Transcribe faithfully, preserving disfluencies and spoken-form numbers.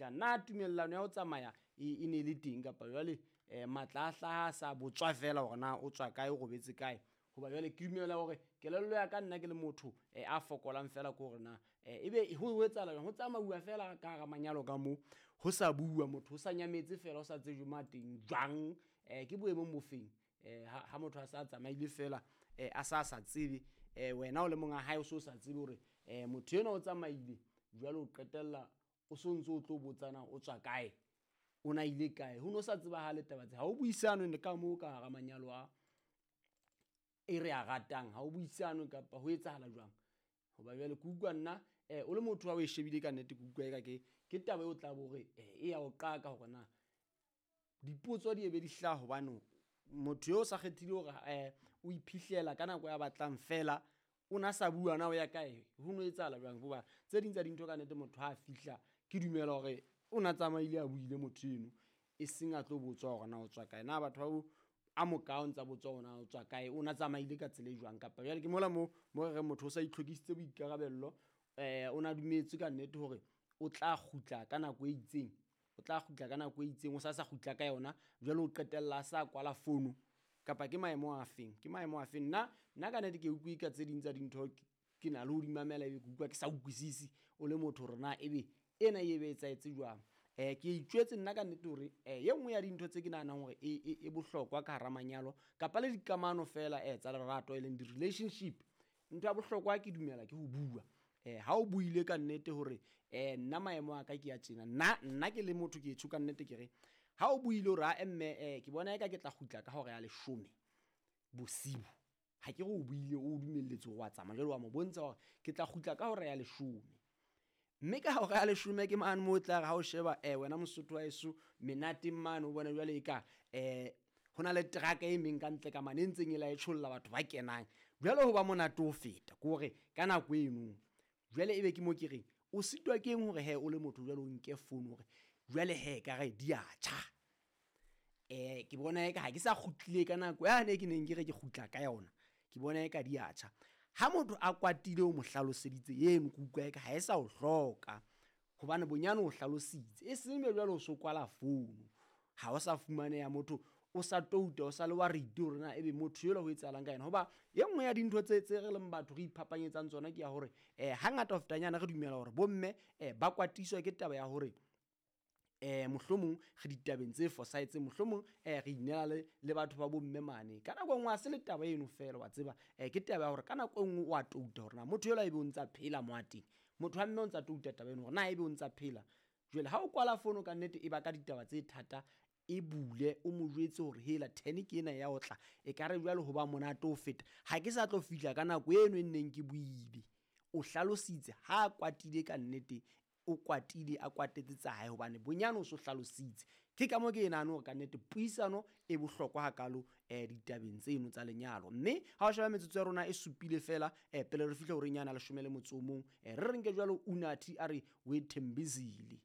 fihlang. Na tumellano ya ho tsamaya e, e ne e le teng kapa jwale um matla a hlaha a sa botswa fela hore na o tswa kae, o robetse kae? Hoba jwale ke dumela hore kelello ya ka nna ke le motho um a fokolang fela ke hore na um ebe ho etsahala jwang, ho tsamauwa fela ka hara manyalo ka moo, ho sa bua motho, ho sa nyametse fela, ho sa tsejwe mo a teng jwang, um ke boemong bo feng? Um ha ha motho a sa tsamaile fela um a sa sa tsebe, um wena o le monga hae o so sa tsebe hore um motho enwa o tsamaile, jwale o qetella o so ntso o tlo botsana o tswa kae, o na ile kae, ho no sa tsebahale taba tse. Ha o buisanwe ka moo ka hara manyalo a e re a ratang, ha o buisanwe kapa ho etsahala jwang? Hoba jwale ke utlwa nna um o le motho ha o e shebile ka nnete, ke utlwa eka ke ke taba eo tla bo hore e ya o qaka hore na dipotso di ebe di hlaha, hobane motho eo o sa kgethile hore um o iphihlela ka nako ya batlang fela, o na sa bua na o ya kae, ho no etsahala jwang? Hoba tse ding tsa dintho ka nnete motho ha a fihla, ke dumela hore o na tsamaile a buile motho eno, e seng a tlo botswa hore na o tswa kae. Na batho ba bo a moka o ntsa botswa hore na o tswa kae, o na tsamaile ka tsela e jwang? Kapa jwale ke mola mo mo re reng motho o sa itlhokisitse boikarabello, um o na dumetse ka nnete hore o tla kgutla ka nako e itseng, o tla kgutla ka nako e itseng, o sa sa kgutla ka yona, jwale o qetella a sa kwala fono. Kapa ke maemo a feng, ke maemo a feng? Nna nna ka nnete ke utlwe ka tse ding tsa dintho ke na le ho di mamela, ebe ke utlwa ke sa utlwisisi o le motho hore na ebe ena e be etsahetse jwang. Um ke itjwetse nna ka nnete hore um e nngwe ya dintho tse ke nahanang hore e, e, e bohlokwa ka hara manyalo kapa le dikamano fela um tsa lerato e leng di-relationship, ntho ya bohlokwa ke dumela ke ho bua. Um ha o buile ka nnete hore um nna maemo a ka ke ya tjena, nna nna ke le motho ke tjho ka nnete ke re ha o buile hore a mme um ke bona eka ke tla kgutla ka hora ya leshome bosiu, ha ke re o buile o dumelletse hore wa tsamaya, jwale wa mo bontsha hore ke tla kgutla ka hora ya leshome. Mme ka hora ya leshome ke mane moo o tla re ha o sheba um wena Mosotho wa heso menateng mane, o bone jwale eka um ho na le teraka e meng ka ntle ka mane e ntseng e la e tsholla batho ba kenang, jwale ho ba monate ho feta ke hore ka nako eno jwale ebe ke mo ke reng o sitwa ke eng hore he o le motho jwale o nke phone hore jwale he ka re di a tjha. Um ke bona eka ha ke sa kgutlile ka nako yane ke neng ke re ke kgutla ka yona, ke bona eka di a tjha. Ha motho a kwatile o mo hlaloseditse eno, ke utlwa eka ha e sa o hloka, hobane bonyane o hlalositse, e seng be jwale o so kwala founu, ha o sa fumaneha motho, o sa touta, o sa le wa rite hore na ebe motho ela ho etsahalang ka yena. Hoba e nngwe ya dintho tse tse re leng batho re iphapanyetsang tsona ke ya hore um hangata ho fetanyana re dumela hore bomme um ba kwatiswa ke taba ya hore um mohlomong re ditabeng tse fosahetseng, mohlomong um re inela le, le batho ba bomme mane. Ka nako e nngwe ha se le taba eno fela wa tseba, um ke taba ya hore ka nako e nngwe o a touta hore na motho ela ebe o ntsa phela mo a teng, motho wa mme o ntsa touta taba eno hore na ebe o ntsa phela. Jwale ha o kwala fono ka nnete e baka ditaba tse thata, e bule o mo jwetse hore hela ten ke ena ya ho tla, ekare jwale ho ba monate ho feta, ha ke sa tlo fihla ka nako eno e nneng ke buile. O hlalositse ha a kwatile ka nnete, o kwatile a kwatetse tsa hae, hobane bonyane o so hlalositse. Ke ka moo ke e nahane hore ka nnete puisano e bohlokwa hakalo um ditabeng tseno tsa lenyalo. Mme ha o sheba metsotso ya rona e supile fela um pele re fihla horeng yana leshome le motso o mong, um re re nke jwalo Unathi a re we Thembisile.